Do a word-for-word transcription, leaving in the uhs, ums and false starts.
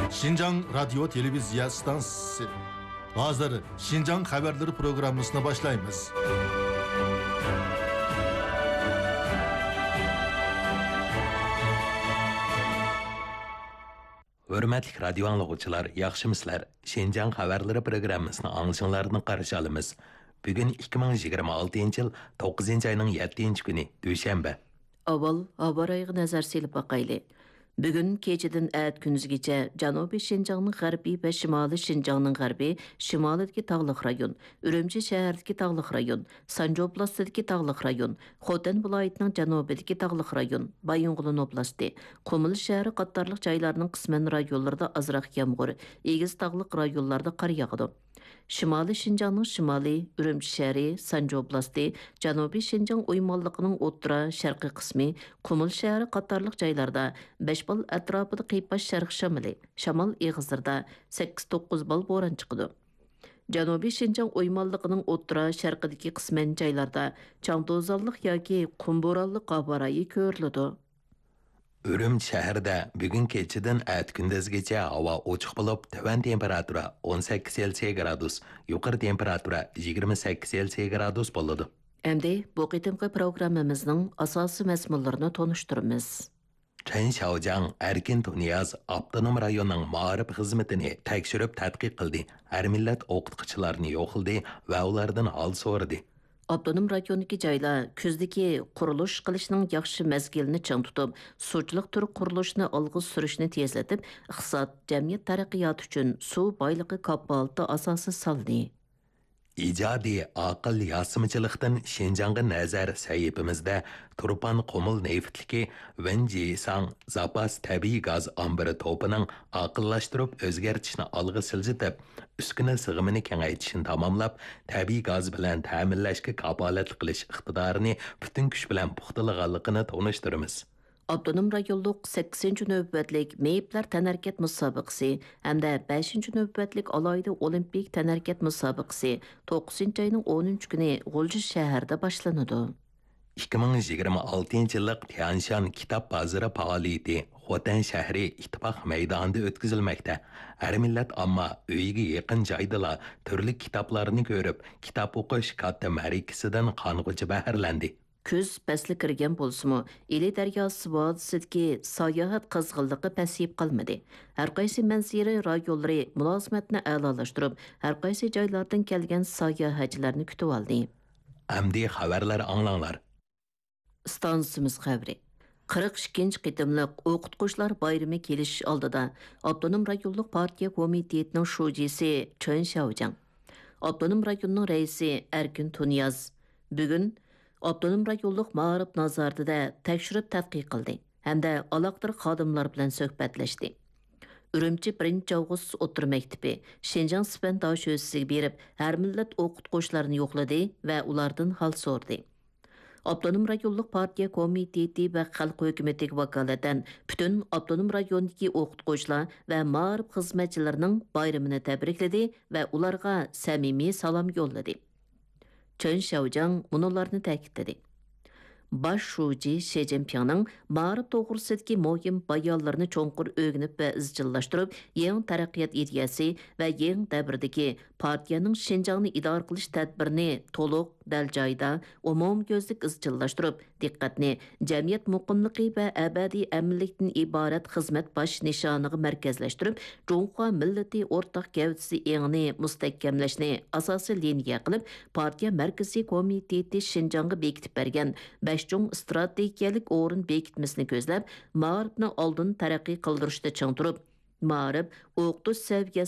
شىنجاڭ رادىيو تېلېۋىزىيە ئىستانسىسى. ھازىر شىنجاڭ خەۋەرلىرى پروگراممىسىنى باشلايمىز. ھۆرمەتلىك رادىيو ئاڭلىغۇچىلار، ياخشىمۇسىلەر؟ شىنجاڭ خەۋەرلىرى پروگراممىسىنى ئاڭلىشىڭلارنى قارشى ئالىمىز. بۈگۈن ئىككى مىڭ يىگىرمە ئالتىنچى يىل توققۇزىنچى ئاينىڭ يەتتىنچى كۈنى، دۈشەنبە. ئاۋۋال ھاۋا رايىغا نەزەر سېلىپ باقايلى. بۈگۈن كېچىدىن ئەتە كۈندۈزگىچە جەنۇبىي شىنجاڭنىڭ غەربى ۋە شىمالىي شىنجاڭنىڭ غەربى، شىمالىدىكى تاغلىق رايون، ئۈرۈمچى شەھىرىدىكى تاغلىق رايون، سانجى ئوبلاستىدىكى تاغلىق رايون، خوتەن ۋىلايىتىنىڭ جەنۇبىدىكى تاغلىق رايون، بايىنغولىن ئوبلاستى، قۇمۇل شەھىرى قاتارلىق جايلارنىڭ قىسمەن رايونلىرىدا ئازراق يامغۇر، ئېگىز تاغلىق رايونلاردا قار ياغىدۇ. شىمالىي شىنجاڭنىڭ شىمالى، ئۈرۈمچى شەھىرى، سانجى ئوبلاستى، جەنۇبىي شىنجاڭ ئويمانلىقىنىڭ ئوتتۇرا، شەرقىي قىسمى، قۇمۇل شەھىرى قاتارلىق جايلاردا بەش بال ئەتراپىدا قىيپاش شەرق شامىلى، شامال ئېغىزلىرىدا سەككىز توققۇز بال بوران چىقىدۇ. جەنۇبىي شىنجاڭ ئويمانلىقىنىڭ ئوتتۇرا، شەرقىدىكى قىسمەن جايلاردا چاڭ توزانلىق ياكى قۇم بورانلىق ھاۋا رايى كۆرۈلىدۇ. ئۈرۈمچى شەھىرىدە بۈگۈن كېچىدىن ئەتە كۈندۈزگىچە ھاۋا ئوچۇق بولۇپ، تۆۋەن تېمپېراتۇرا ئون سەككىز سېلسىيە گرادۇس، يۇقىرى تېمپېراتۇرا يىگىرمە سەككىز سېلسىيە گرادۇس بولىدۇ. ئەمدى بۇ قېتىمقى پروگراممىمىزنىڭ ئاساسىي مەزمۇنلىرىنى تونۇشتۇرىمىز. چېن شياۋجياڭ، ئەركىن تۇنىياز، ئاپتونوم رايوننىڭ مائارىپ خىزمىتىنى تەكشۈرۈپ تەتقىق قىلدى، ھەر مىللەت ئوقۇتقۇچىلارنى يوقلىدى ۋە ئۇلاردىن ھال سورىدى. ئاپتونوم رايوندىكى جايلار كۈزدىكى قۇرۇلۇش قىلىشنىڭ ياخشى مەزگىلىنى چىڭ تۇتۇپ، سۇچىلىق تۈر قۇرۇلۇشىنى ئالغا سۈرۈشنى تېزلىتىپ، ئىقتىساد، جەمئىيەت تەرەققىياتى ئۈچۈن سۇ بايلىقى كاپالىتى ئاساسى سالدى. ئىجادىي ئاقىل ياسىمىچىلىقتىن شىنجاڭغا نەزەر سەھىپىمىزدە تۇرپان قۇمۇل نېفىتلىكى ۋېنجىساڭ زاپاس تەبىئىي گاز ئامبىرى توپىنىڭ ئاقىللاشتۇرۇپ ئۆزگەرتىشنى ئالغا سىلجىتىپ، ئۈسكۈنە سىغىمىنى كېڭەيتىشنى تاماملاپ، تەبىئىي گاز بىلەن تەمىنلەشكە كاپالەتلىك قىلىش ئىقتىدارىنى پۈتۈن كۈچ بىلەن پۇختىلىغانلىقىنى تونۇشتۇرىمىز. ئاپتونوم رايونلۇق سەككىزىنچى نۆۋەتلىك مېيىپلەر تەنھەرىكەت مۇسابىقىسى ھەمدە بەشىنچى نۆۋەتلىك ئالاھىدە ئولىمپىك تەنھەرىكەت مۇسابىقىسى توققۇزىنچى ئاينىڭ ئونىنچى كۈنى غۇلجا شەھىرىدە باشلىنىدۇ. ئىككى مىڭ يىگىرمە ئالتىنچى يىللىق تيەنشان كىتاب بازىرى پائالىيىتى خوتەن شەھىرى ئىتتىپاق مەيدانىدا ئۆتكۈزۈلمەكتە. ھەر مىللەت ئامما ئۆيىگە يېقىن جايدىلا تۈرلۈك كىتابلارنى كۆرۈپ، كىتاب ئوقۇش كاتتا مەرىكىسىدىن قانغۇچە بەھرىلەندى. كۈز پەسلى كىرگەن بولسىمۇ، ئىلى دەرياسى ۋادىسىدىكى ساياھەت قىزغىنلىقى پەسىيىپ قالمىدى. ھەرقايسى مەنزىرە رايونلىرى مۇلازىمەتنى ئەلالاشتۇرۇپ، ھەرقايسى جايلاردىن كەلگەن ساياھەتچىلەرنى كۈتۈۋالدى. ئەمدى خەۋەرلەر ئاڭلاڭلار. ئىستانسىمىز خەۋىرى. قىرىق ئىككىنچى قېتىملىق ئوقۇتقۇچىلار بايرىمى كېلىش ئالدىدا، ئاپتونوم رايونلۇق پارتىيە كومىتېتىنىڭ شۇجىسى چېن شياۋجياڭ، ئاپتونوم رايوننىڭ رەئىسى ئەركىن تۇنىياز بۈگۈن ئاپتونوم رايونلۇق مائارىپ نازارىتىدە تەكشۈرۈپ تەتقىق قىلدى ھەمدە ئالاقىدار خادىملار بىلەن سۆھبەتلەشتى. ئۈرۈمچى بىرىنچى ئاۋغۇست ئوتتۇرا مەكتىپى، شىنجاڭ سىپەن داشۆسىسىگە بېرىپ، ھەر مىللەت ئوقۇتقۇچىلارنى يوقلىدى ۋە ئۇلاردىن ھال سورىدى. ئاپتونوم رايونلۇق پارتىيە كومىتېتى ۋە خەلق ھۆكۈمىتىگە ۋاكالىتەن پۈتۈن ئاپتونوم رايوندىكى ئوقۇتقۇچىلار ۋە مائارىپ خىزمەتچىلىرىنىڭ بايرىمىنى تەبرىكلىدى ۋە ئۇلارغا سەمىمىي سالام يوللىدى. چېن شياۋجياڭ مۇنۇلارنى تەكىتلىدى: باش شۇجى شى جىنپىڭنىڭ مائارىپ توغرىسىدىكى مۇھىم بايانلىرىنى چوڭقۇر ئۆگىنىپ ۋە ئىزچىللاشتۇرۇپ، يېڭى تەرەققىيات ئىدىيەسى ۋە يېڭى دەۋردىكى پارتىيەنىڭ شىنجاڭنى ئىدارە قىلىش تەدبىرىنى تولۇق، دەل جايىدا، ئومۇميۈزلۈك ئىزچىللاشتۇرۇپ، دىققەتنى جەمئىيەت مۇقىملىقى ۋە ئەبەدىي ئەمىنلىكتىن ئىبارەت خىزمەت باش نىشانىغا مەركەزلەشتۈرۈپ، جۇڭخۇا مىللىتى ئورتاق گەۋدىسى ئېڭىنى مۇستەھكەملەشنى ئاساسىي لىنىيە قىلىپ، پارتىيە مەركىزىي كومىتېتى شىنجاڭغا بېكىتىپ بەرگەن بەش چوڭ ئىستراتېگىيەلىك ئورۇن بېكىتمىسىنى كۆزلەپ، مائارىپنى ئالدىن تەرەققىي قىلدۇرۇشتا چىڭ تۇرۇپ، مائارىپ، ئوقۇتۇش سەۋىيەسى